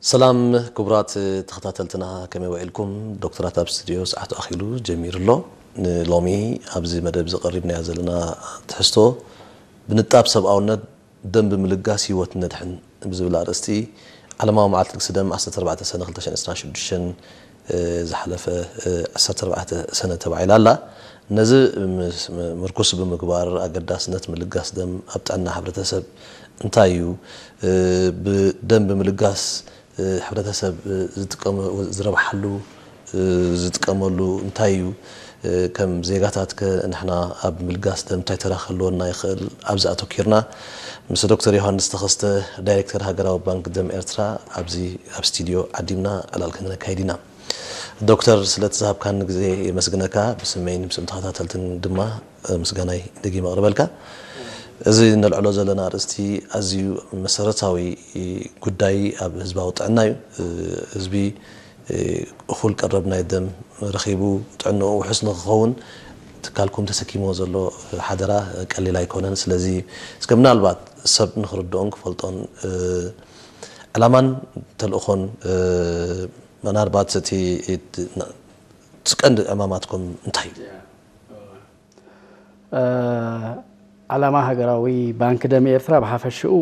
ሰላም ክቡራት ተኸታተልትና፣ ከመይ ውዒልኩም? ዶክተራት ኣብ ስቱድዮ፣ ሰዓቱ ኣኺሉ ጀሚሩ ኣሎ። ንሎሚ ኣብዚ መደብ እዚ ቀሪብናዮ ዘለና ትሕዝቶ ብንጣብ ሰብኣውነት፣ ደም ብምልጋስ ህይወት ነድሕን ብዝብል ኣርእስቲ፣ ዓለማዊ መዓልቲ ልግሲ ደም ዓሰርተ ኣርባዕተ ሰነ ክልተ ሽሕን ዕስራን ሽዱሽተን ዝሓለፈ ዓሰርተ ኣርባዕተ ሰነ ተባሂላ ኣላ። ነዚ ምስ ምርኩስ ብምግባር፣ ኣገዳስነት ምልጋስ ደም ኣብ ጥዕና ሕብረተሰብ እንታይ እዩ? ብደም ብምልጋስ ሕብረተሰብ ዝጥቀመ ዝረብሓሉ ዝጥቀመሉ እንታይ እዩ? ከም ዜጋታት ከ ንሕና ኣብ ምልጋስ ደም እንታይ ተራ ክህልወና ይኽእል? ኣብዚ ኣተኪርና ምስ ዶክተር ዮሃንስ ተኸስተ፣ ዳይሬክተር ሃገራዊ ባንክ ደም ኤርትራ፣ ኣብዚ ኣብ ስቱድዮ ዓዲምና ዕላል ክንካይድ ኢና። ዶክተር፣ ስለቲ ዝሃብካኒ ግዜ የመስግነካ። ብስመይን ብስም ተኸታተልትን ድማ ምስጋናይ ደጊመ ኣቕርበልካ። እዚ ነልዕሎ ዘለና ኣርእስቲ ኣዝዩ መሰረታዊ ጉዳይ ኣብ ህዝባዊ ጥዕና እዩ። ህዝቢ እኹል ቀረብ ናይ ደም ረኺቡ ጥዕንኡ ውሑስ ንክኸውን ትካልኩም ተሰኪምዎ ዘሎ ሓደራ ቀሊል ኣይኮነን። ስለዚ እስከ ምናልባት ሰብ ንክርድኦን ክፈልጦን ዕላማን ተልእኾን፣ ምናልባት እቲ እቲ ቀንዲ ዕማማትኩም እንታይ እዩ? ዓላማ ሃገራዊ ባንኪ ደም ኤርትራ ብሓፈሽኡ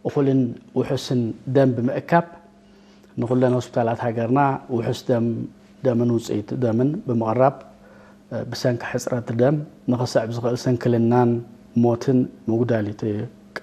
እኹልን ውሑስን ደም ብምእካብ ንኹለን ሆስፒታላት ሃገርና ውሑስ ደም ደምን ውፅኢት ደምን ብምቕራብ ብሰንኪ ሕፅረት ደም ንኽስዕብ ዝኽእል ስንክልናን ሞትን ምጉዳል እዩ እቲ